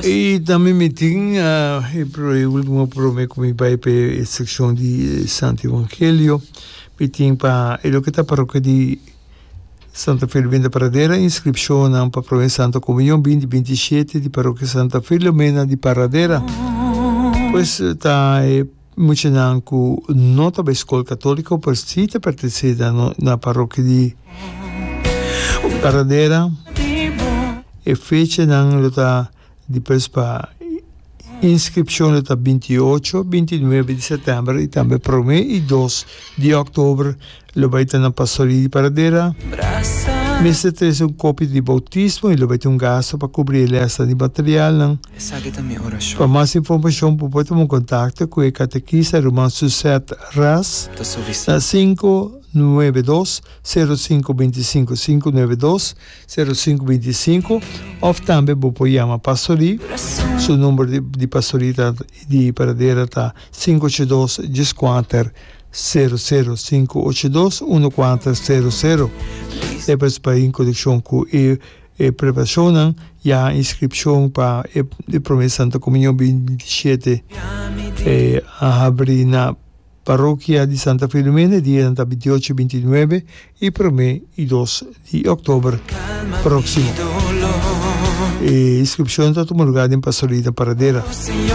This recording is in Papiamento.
I tambe mi tin e ultimo prome ku mi bai pa e sekshon di Santo Evangelio, mi tin pa e loke ta parokia di Santa Filomena Paradera, inskripshonnan pa Prome Santa Komunion binti 27 di parokia Santa Filomena di Paradera. Pues ta e muchanan ku no ta bai skol katoliko pero si ta pertenesé na parokia di Paradera. E fechanan lo ta di pres pa inskripshon lo ta 28, 29 di sètèmber i tambe promé i 2 di òktober lo bai ta na Pastoria di Paradera. Mester trese un kopia di boutismo i lo bai tin un gasto pa kubri e lèsnan di materialnan. Pa mas informashon bo por tuma kontakto ku e katekista ruman Suzette Ras na 592 05 25 592 05 25 of tambe bo por yama Pastori, su number di Pastori ta di Paradera ta 582 14 00 582 1400. Despues pa in konekshon ku e e preparashonnan ya inskripshon pa e prome Santa Komunion 27 a habri na Parokia di Santa Filomena e dianan ta 28, 29 i promé i dos di òktober próksimo. E inskripshon ta tuma lugá den Pastorita Paradera.